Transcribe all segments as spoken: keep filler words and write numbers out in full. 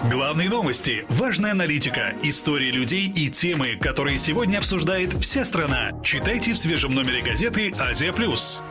Главные новости, важная аналитика, истории людей и темы, которые сегодня обсуждает вся страна. Читайте в свежем номере газеты «Азия плюс».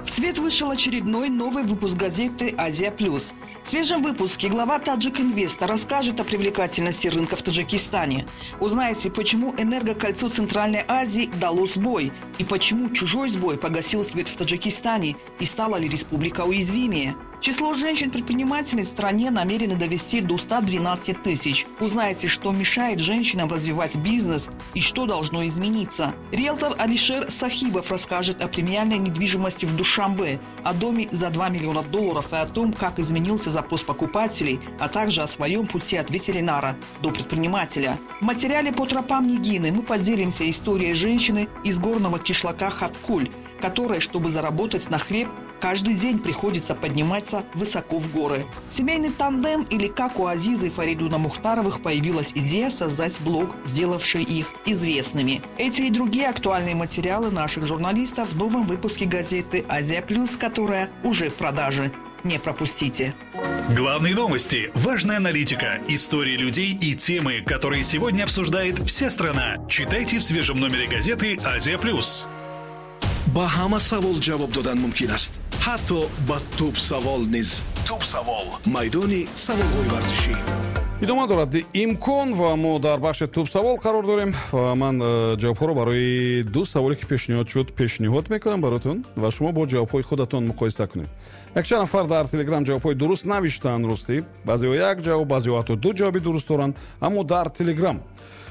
В свет вышел очередной новый выпуск газеты «Азия Плюс». В свежем выпуске глава Таджик Инвеста расскажет о привлекательности рынка в Таджикистане. Узнаете, почему энергокольцо Центральной Азии дало сбой и почему чужой сбой погасил свет в Таджикистане и стала ли республика уязвимее. Число женщин-предпринимателей в стране намерены довести до ста двенадцати тысяч. Узнаете, что мешает женщинам развивать бизнес и что должно измениться. Риэлтор Алишер Сахибов расскажет о премиальной недвижимости в Душанбе, о доме за два миллиона долларов и о том, как изменился запрос покупателей, а также о своем пути от ветеринара до предпринимателя. В материале «По тропам Нигины» мы поделимся историей женщины из горного кишлака Хавкуль, которая, чтобы заработать на хлеб, каждый день приходится подниматься высоко в горы. Семейный тандем, или как у Азизы и Фаридуна Мухтаровых появилась идея создать блог, сделавший их известными. Эти и другие актуальные материалы наших журналистов в новом выпуске газеты «Азия Плюс», которая уже в продаже. Не пропустите. Главные новости, важная аналитика, истории людей и темы, которые сегодня обсуждает вся страна. Читайте в свежем номере газеты «Азия Плюс». Ба ҳама савол ҷавоб додан мумкин аст, ҳатто ба тӯбсавол низ. Тӯбсавол, майдони саволҳои варзишӣ. Идома дорад имкон, ва мо дар бахши тӯбсавол қарор дорем, ва ман э, ҷавобҳоро барои ду саволе, ки пешниҳод шуд, пешниҳод мекунам баротон ва шумо бо ҷавобҳои худатон муқоиса кунед. Якчанд нафар дар Телеграм ҷавобҳои дуруст навиштаанд. Ростӣ, баъзеҳо як ҷавоб, баъзеҳо ҳатто ду ҷавоби дуруст доранд, аммо дар Телеграм.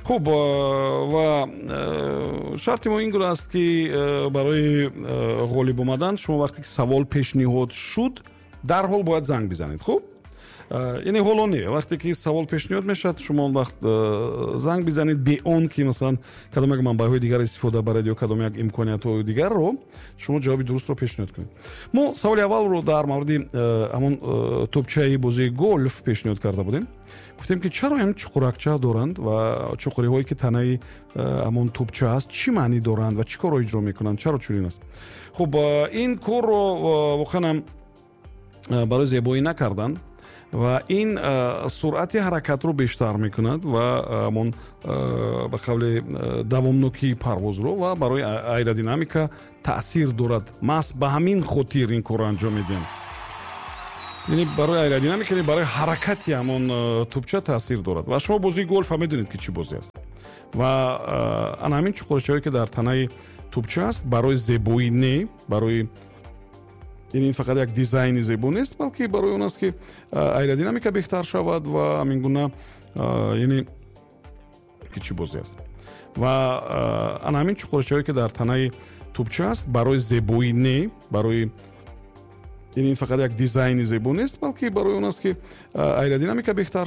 Хуб, э, ва э, шарти мо ин гуна аст, ки э, барои ғолиб омадан шумо, вақте ки савол пешниҳод шуд, дарҳол бояд занг бизанед. Хуб, яъне ҳоло не, вақте ки савол пешниҳод мешавад, шумо он вақт занг бизанед, бе он ки, масалан, кадом як манбаъҳои дигар истифода баред ё кадом як имкониятҳои дигарро, шумо ҷавоби дурустро пешниҳод кунед. Мо саволи аввалро дар мавриди ҳамон тӯбчаи бозии голф пешниҳод карда будем. Гуфтем, ки чаро ҳам чуқуракча доранд ва чуқуриҳое, ки танаи ҳамон тӯбча аст, чӣ маънӣ доранд ва чӣ корро иҷро мекунанд, чаро чунин аст? Хуб, ин корро воқеан ҳам барои зебоӣ накарданд ва ин суръати ҳаракатро бештар мекунад ва ҳамон, ба қавли, давомнокии парвозро, ва барои аэродинамика таъсир дорад. Маҳз ба ҳамин хотир ин корро анҷом медиҳанд, яъне барои аэродинамика, яъне барои ҳаракати ҳамон тӯбча таъсир дорад. Ва шумо бозии голф ҳам медонед, ки чӣ бозӣ аст, ва ана ҳамин чуқурчаҳое, ки дар танаи тӯбча аст, барои зебоӣ не, барои, яъне ин фақат як дизайни зебо нест, балки барои он аст, ки аэродинамика беҳтар шавад ва ҳамин гуна, яъне ки чӣ бозӣ аст, ва ана ҳамин чуқурчаҳое, ки дар танаи тӯбча аст, барои зебоӣ не, барои, яъне ин фақат як дизайни зебо нест, балки барои он аст, ки аэродинамика беҳтар